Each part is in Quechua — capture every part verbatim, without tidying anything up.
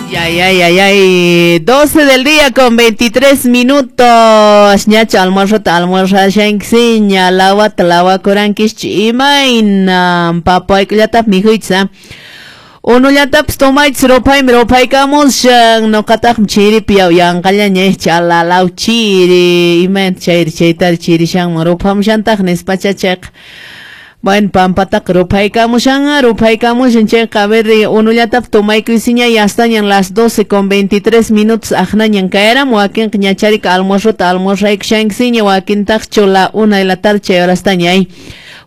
Ay, ay, ay, ay, doce del día con veintitrés minutos. Ñacha almuerzota almuerzashankiña, lawata lawakurankish imayna papaykullatap mikhuychis. Unullatapis tomaychis ruphaymi ruphaykamushan nuqataqmi chiripi yaw yanqallaña chalalaw chiri imayna chayri chaytari chirishanman ruphamushantaq nispacha chayqa. Bueno, pampataqa ruphaykamushan, ruphaykamushan chayqa a ver unullatap tomaykuysiña yastañan las doce con veintitrés minutos aqnañan kayram wakinqa ñacharika almuerzota almuerzaykushankiña wakintaqchu la una de la tarde chay horastaña ay.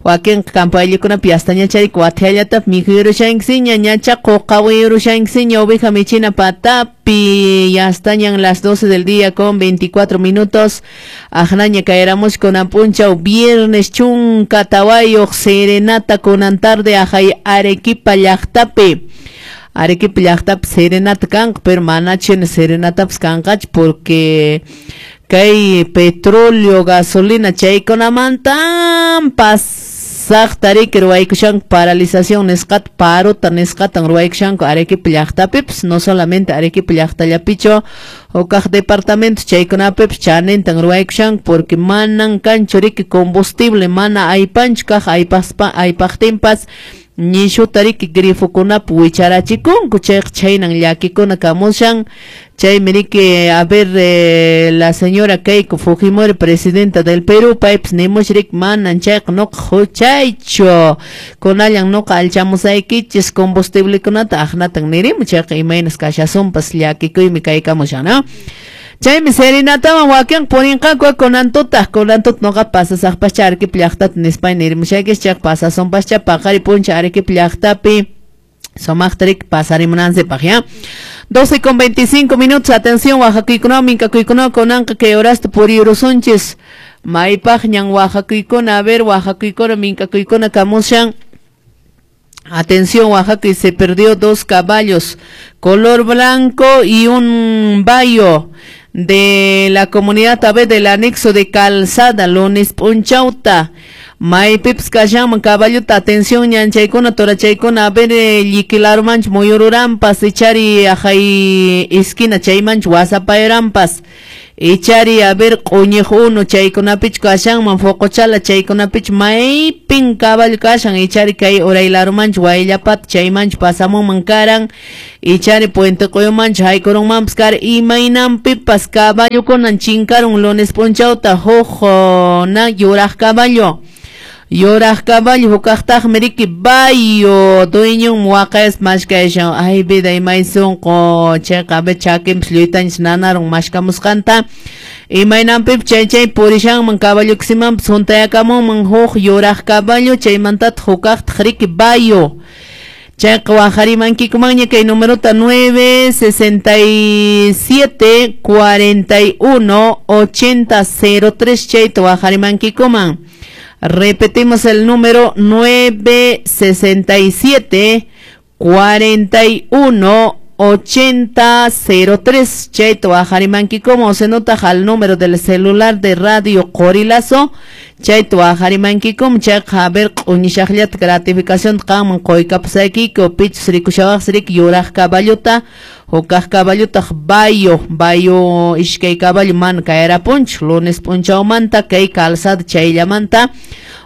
Wakinqa kampayllikunapi yastaña charika wathiallatap mikhuyurushankiña ñacha quqawiyurushankiña oveja michina patapi yastañan las doce del día con veinticuatro minutos aqnaña kayramus kunan p'unchaw viernes chunka tawayuq serenata kunan tarde ajay Arequipa llaqtapi. Arequipa llaqtapi serenata kanqa pero manachina serenatapas kanqachu porque kay petróleo gasolina chaykunamantan pasaqta riki ruwaykushanku paralización nisqata parota nisqatan ruwaykushanku Arequipa llaqtapipis no solamente Arequipa llaqtallapichu hukaq departamento chaykunapipis chanintan ruwaykushanku porque manan kanchu riki combustible mana aypanchu kaq aypaspa aypaqtinpas nishuta riki grifokunapi wicharachikunku chayqa chhaynan llakikuna kamushan chaymi riki a ver eh, la señora Keiko Fujimori presidenta del Perú paypis nimush riki manan chayqa nuqa huchaychu kunallan nuqa allchamusaykichis combustiblekunata aqnatan nirimu chayqa imaynas kashasunpas llakikuymi kaykamushan ¿no? Chaymi serenataman wakin purinqaku kunan tutaq kunan tuta nuqa pasasaqpascha Arequipa llaqtata nispay nirimushaykichis chayqa pasasunpascha paqari puncha Arequipa llaqtapi sumaqta riki pasarimunansipaq ya. doce con veinticinco minutos, atención waqakuykunawan minkakuykunawan kunanqa kay horasta puriyurusunchis maypaqñan waqakuykuna a ver waqakuykuna minkakuykuna kamushan. Atención, Oaxaca, y se perdió dos caballos, color blanco y un bayo de la comunidad A B del anexo de Calzada, lunes punchauta. Maypipas kashanman caballota, atención, ñanchaykuna, torachaykuna, a ver, llikilarumanch muyururampas, ichari ajay esquina chaymanch wasapayrampas. Ichari a ver q'uñiq unu chaykunapich kashanman foqochala chaykunapich maypin caballo kashan ichari kay uraylarumanch wayllapata chaymanch pasamunman karan ichari Puente Q'uyumanch haykurunmanpas karan imaynanpipas caballokunan chinkarun lunes p'unchawta huk na yuraq caballo yuraq caballo hukaqtaqmi riki bayo dueñon waqayaspa mashkayashan ay vida imay sunqu chayqa a ver chakinpas lluytanchis nanarun mashkamusqanta imaynanpipas chay chay purishanman caballokusimanpas huntayakamunman huk yuraq caballo chaymantataq hukaqtaq riki bayo chayqa waqarimankikumanña kay numerota nueve sesenta y siete cuarenta y uno ochenta cero tres chayta waqarimankikuman. Repetimos el número nueve sesenta y siete cuarenta y uno ochenta cero tres. Chayta waqarimankikuman, se nota al número del celular de Radio Qorilazo. Chayta waqarimankikuman, chayqa a ver q'uñishaqllata gratificación qanman quykapusaykiku pichus rikushawaqsi riki yuraq caballota hukaq caballotaq bayo bayo iskay caballo mana kayarapunchu lunes p'unchawmanta kay calzada chayllamanta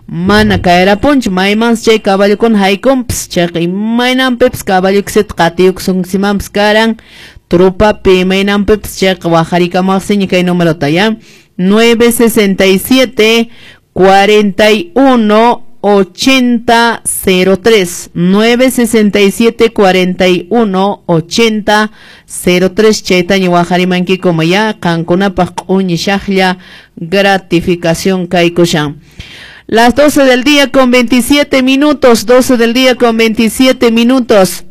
mana kayarapunchu maymansi chay caballokuna haykunpas chayqa imaynanpipas caballokusita qatiyukusunkimanpas karan trupapi imaynanpipas chayqa waqarikamaqsiña kay numerota ya nueve sesenta y siete cuarenta y uno ochenta cero tres nueve sesenta y siete cuarenta y uno ochenta cero tres chaytaña waqarimankikuma ya qankunapaq q'uñishaqlla gratificación kaykushan. Las doce del día con veintisiete minutos, doce del día con veintisiete minutos.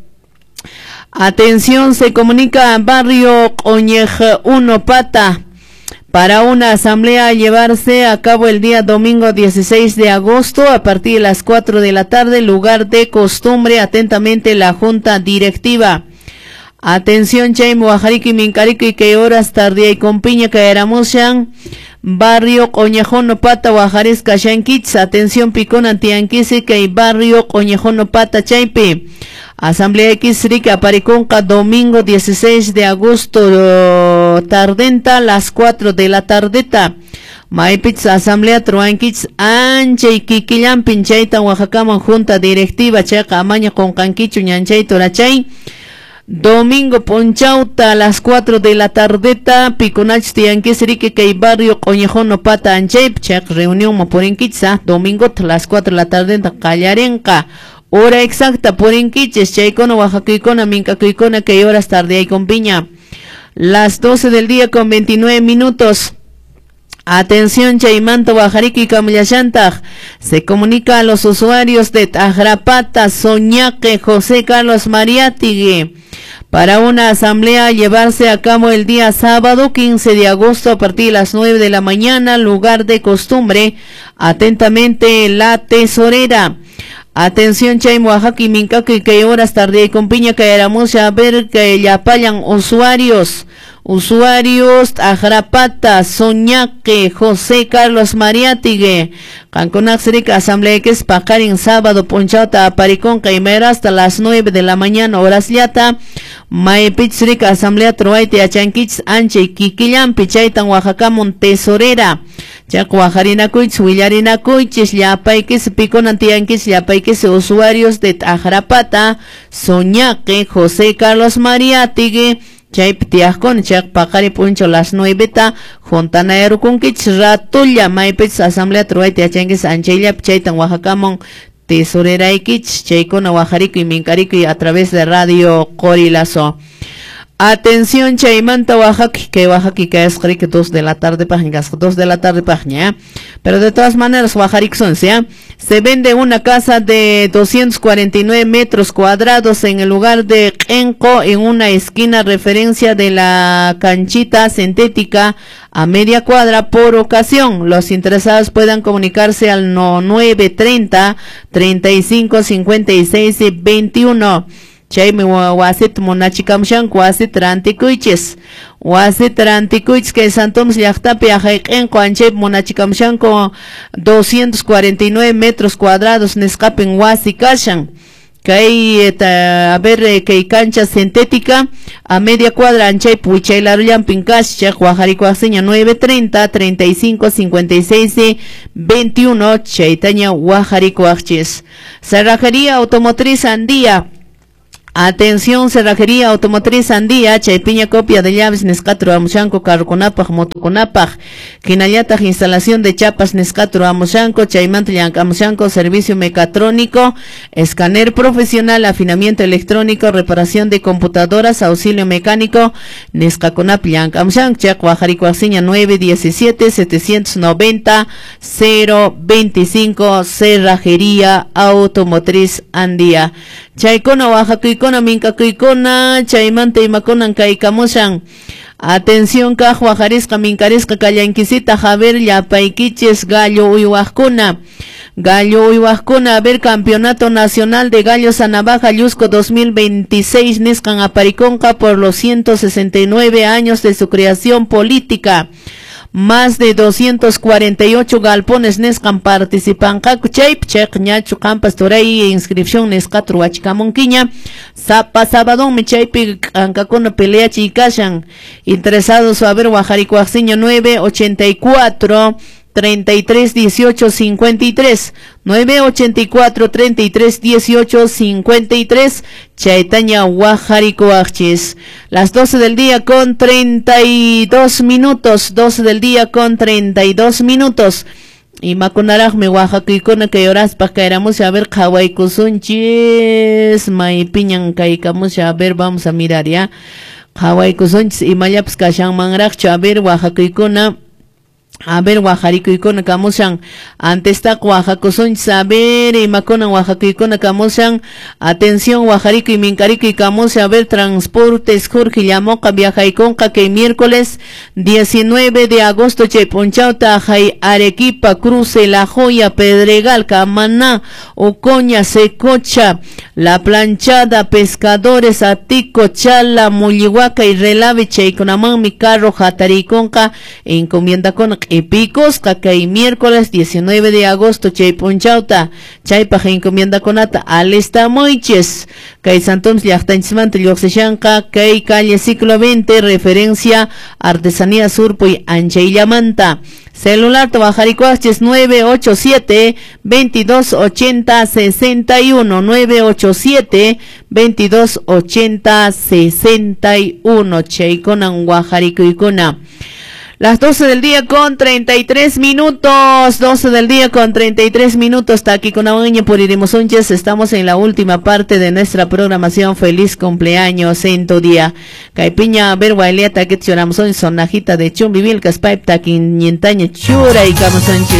Atención, se comunica barrio Q'uñej uno Pata para una asamblea a llevarse a cabo el día domingo dieciséis de agosto a partir de las cuatro de la tarde, lugar de costumbre, atentamente la Junta Directiva. Atención, Chaymi Wajariki, Minkariki, que horas tardía y con piña caeramushan, barrio Coñejono Pata, Wajaris, Kashankits. Atención, Picona, Tianquisi, que barrio Coñejono Pata, Chaypi. Asamblea X riki aparikunqa domingo dieciséis de agosto tardenta las cuatro de la tardeta. Maypichus asamblea ruwankichis anchay kikillampin chaytan waqakaman junta directiva chayqa amaña qunqankichu ñanchay turachay. Domingo p'unchawta a las cuatro de la tardeta pikunachus tiyankichis riki kay barrio Q'uñijono pata anchaypi chayqa reunión purinkichis domingo a las cuatro de la tardeta qallarinqa. Hora exacta purinkichis chaykuna waqakuykuna minkakuykuna kay horas tardeyaykunpiña. Las doce del día con veintinueve minutos. Atención, chaymanta wajariki kamillashantaq. Se comunica a los usuarios de Tajrapata, Soñaque, José Carlos Mariátegui, para una asamblea a llevarse a cabo el día sábado quince de agosto a partir de las nueve de la mañana, lugar de costumbre. Atentamente, la tesorera. Atención, chay Oaxaca y minkaki que horas tarde con piña caeramos a ver que yapallan usuarios. Usuarios Tajrapata, Soñaque, José Carlos Mariátegui, Cancunaxrica, asamblea que es paqarin sábado punchawta aparikunqa imayra hasta las nueve de la mañana horas llata. Maypichsrica asamblea truayta yachankichis anchay kikillampi chaytan waqakamun tesorera. Chayqa waqarinakuychis willarinakuychis llapaykis pikunan tiyankichis llapaykis usuarios de Tajrapata, Soñaque, José Carlos Mariátegui. Chaypi tiyaqkuna chayqa paqari p'unchaw las nueveta juntanayarukunkichis ratulla maypichis asamblea ruwayta yachankichis anchayllapi chaytan waqakamun tesoreraykichis chaykuna waqarikuy minkarikuy a través de Radio Qorilazo. Atención, chaymanta waqaki kay waqaki kayasqa riki dos de la tarde paqña kasqa dos de la tarde paqña, pero de todas maneras waqarikusunsi. Se vende una casa de doscientos cuarenta y nueve metros cuadrados en el lugar de Qenqo, en una esquina referencia de la canchita sintética a media cuadra por ocasión. Los interesados puedan comunicarse al nueve treinta, treinta y cinco, cincuenta y seis, veintiuno. Chaymi wasita munachikamushanku wasita rantikuychis wasita rantikuychis kay San Tomás llaqtapi aqhay q'inqu anchaypi munachikamushanku doscientos cuarenta y nueve metros cuadrados nisqapin wasi kashan kay a ver kay cancha sintética a media cuadra anchaypi wichaylarullampin kashan chayqa waqarikuwaqsiña nueve treinta, treinta y cinco, cincuenta y seis, veintiuno chaytaña waqarikuwaqchis. Cerrajería Automotriz Andía. Atención, Cerrajería Automotriz Andía, chaypiña copia de llaves nisqata ruwamushanku carrukunapaq motokunapaq, hinallataq instalación de chapas nisqata ruwamushanku, chaymanta llank'amushanku servicio mecatrónico, escáner profesional, afinamiento electrónico, reparación de computadoras, auxilio mecánico, nisqakunapi llank'amushanku, chayqa waqarikuwaqsiña nueve diecisiete, setecientos noventa, cero veinticinco, Cerrajería Automotriz Andía. Chaykuna waqakuykuna minkakuykuna chaymanta imakunan kaykamushan. Atención kaq waqarisqa minkarisqa kallankisita Javier llapaykichis gallo uywaqkuna. Gallo uywaqkuna, a ver, Campeonato Nacional de Gallos a Navaja Llusco dos mil veintiséis nisqan aparikunqa por los ciento sesenta y nueve años de su creación política. Más de doscientos cuarenta y ocho galpones nisqan participanqaku chaypi chayqa ñachu qampas turay inscripción nisqata ruwachikamunkiña sapa sabadonmi chaypi k'ankakuna peleachiy kashan. Interesados a ver waqarikuwaqsiña nueve ochenta y cuatro, treinta y tres, dieciocho, cincuenta y tres, nueve ochenta y cuatro, treinta y tres, dieciocho, cincuenta y tres, chaytaña waqarikuwaqchis. Las doce del día con treinta y dos minutos, doce del día con treinta y dos minutos. Imakunaraqmi waqakuykuna kay horaspaq kayramusha a ver qhawaykusunchis maypiñan kaykamusha a ver vamos a mirar ya qhawaykusunchis imallapas kashanmanraqchu a ver waqakuykuna. A ver, waqarikuykuna kamushan. Antestaqa waqakusunchis, a ver, imakunan waqakuykuna kamushan. Atención, waqarikuy minkarikuy kamushan. A ver, transportes Jorge llamoqa viajaykunqa kay miércoles diecinueve de agosto chay p'unchawta hay Arequipa, Cruce, La Joya, Pedregal, Camaná, Ocoña, Secocha, La Planchada, Pescadores, Atico, Chala, Mullihuaca y Relave chaykunamanmi carro hatarikunqa encomiendakuna q'ipikusqa kay miércoles diecinueve de agosto chay p'unchawta. Chaypaq encomiendakunata alistamuychis. Kay Santoms llaqtanchismanta lluqsishanqa kay calle Siglo veinte, referencia Artesanía Surpuy Anchayllamanta. Celular tawajarikuachis nueve ocho siete, veintidós ochenta, sesenta y uno, nueve ocho siete, veintidós ochenta, sesenta y uno. Chaykunan wajarikuykuna. Las doce del día con treinta y tres minutos, doce del día con treinta y tres minutos, Taquikunawaña por Iremos Unches, estamos en la última parte de nuestra programación. Feliz cumpleaños en tu día. Caipiña, ver guailea, taquit choramos sonajita de Chumbivilcas, pipe taquin, ñentaña, chura y camosanches.